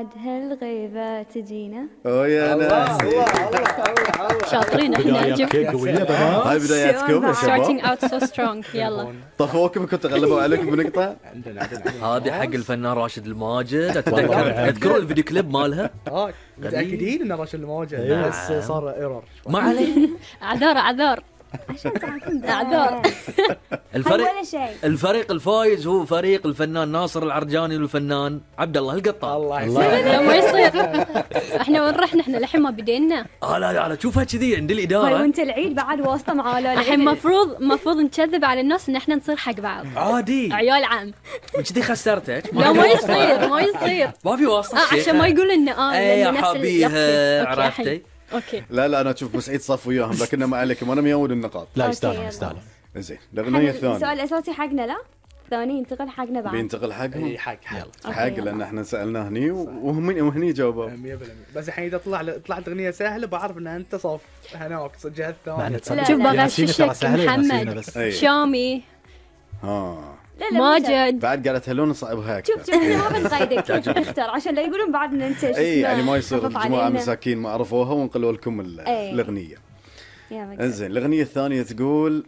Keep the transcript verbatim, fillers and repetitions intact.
بعد هالغيبة تجينا. اوه يا ناس شاطرين احنا. هاي بداياتكم يا شباب. starting out so strong. يلا طفوكم كنتوا غلبوا عليكم بنقطة. عندنا عندنا هذه حق الفنان راشد الماجد. اتذكر تذكرون الفيديو كليب مالها؟ اه متاكدين ان راشد الماجد بس صار ايرور. ما عليه. اعذار اعذار اعذار. الفريق ولا شيء. الفريق الفايز هو فريق الفنان ناصر العرجاني والفنان عبد الله القطار. الله لا ما يصير. احنا وين رحنا؟ احنا الحين ما بدينا. اه لا لا شوفها كذي عند هاي الاداره. وانت العيد بعد واسطة معاه. الحين مفروض مفروض نكذب على الناس ان احنا نصير حق بعض. عادي عيال عام. من كذي خسرتك. لا ما يصير ما يصير. ما في واسطه. اه عشان ما يقول انه اه اي يا نفس ال- حبيبي أوكي، عرفتي. اوكي. لا لا انا اشوف بسعيد صف وياهم لكنه ما عليكم انا ميود النقاط. لا أوكي، يستاهل يلا. يستاهل. زين الاغنية السؤال الثانية الاساسي حقنا لا ثاني ينتقل حقنا بعد. بينتقل حقهم. اي حق حق حق يلا. لان احنا سالناه هني وهم وهني جاوبوا. مية بالمية. بس الحين اذا طلع طلعت اغنيه جهه بعرف ان انت صف هناك جهه معنى ثانيه. لا، شوف لا. بغششك محمد بس. أي. شامي ها لا لا مو شرط. ماجد. بعد قالت هلون صعبها اكثر. شوف شوف احنا ما بنقيدك كيف تختار عشان لا يقولون بعد ان انت شو اي اسمه يعني ما يصير خفف جماعه علينا. مساكين ما عرفوها ونقلوا لكم ال- أي. الاغنيه. يلا. انزين الاغنيه الثانيه تقول